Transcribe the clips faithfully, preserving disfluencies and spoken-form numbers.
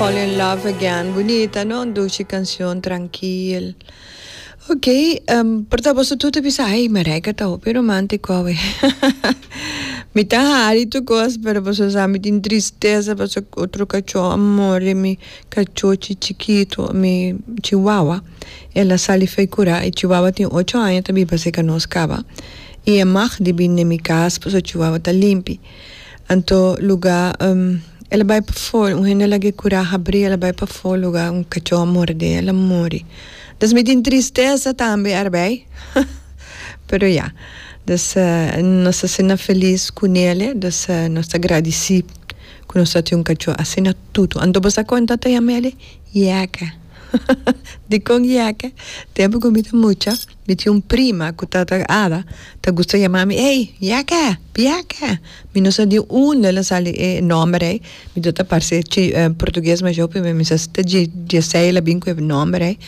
Fall in Love Again. Bunita, no? Dushi cancion, trankil. Ok, um, por ta boso tur ta bisa, ay, Marijke ta hopi romantico awe. Mi ta hari tur cos, pero boso sa mi tin tristesa paso otro cacho a muri, mi cachochi chikito, mi chihuahua. El a sali fei cura, e chihuahua tin ocho aña ta biba cerca nos caba. Y e mag di bini den mi cas paso chihuahua ta limpi. Anto luga el a bai pafó, un hende a laga e kurá habrí, el a bai pafó luga un kachó a mord'é, el a muri. Dus mi tin tristesa tambe arbei, pero ya. Dus nos ta asina felis ku Nele, dus nos ta gradisí ku nos ta tin un kachó asina tutu. Anto bo sa kon ta ta yama ele? Yèkè. Dikon yèkè? Tempu ku mi ta mucha, mi tin un prima ku ta ta Ada, ta gusta yama mi, Ey, yèkè, yèkè. Mi no sa di unda el a sali e nòmber ei, mi ta ta parse chi portugues masha hopi, mi sa si ta dje djesei el a bin ku e nòmber ei.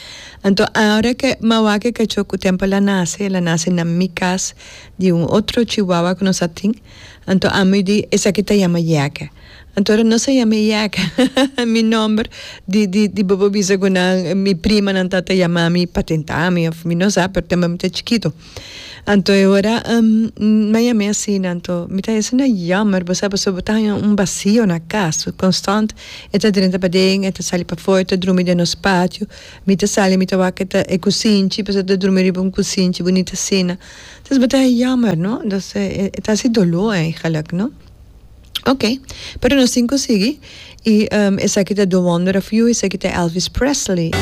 Anto ora ke mi a wak e kachó ku tempu el a nase, el a nase na mi kas di un otro chihuahua ku nos a tin, anto ami di esaki ta yama yèkè. Anto ora nos a yama e yèkè, mi nòmber di di di bo por bisa ku nan mi primanan ta ta yama mi pa tenta mi òf mi no sa pero tempu mi ta chikitu. Anto e ora mi a yam'é asina anto mi ta hesina jammer bo sa pasobra bo ta haña un basio na kas konstant e ta drenta paden e ta sali pafó e ta drumi den nos patio mi ta sali mi ta wak e ta e kusinchi pasobra e ta drumi riba un kusinchi bunita asina entonces bo ta haña jammer no entonces e ta hasi doló eigenlijk no. Ok, pero nos tin cu sigui y esaki ta The Wonder of You, esaki ta Elvis Presley.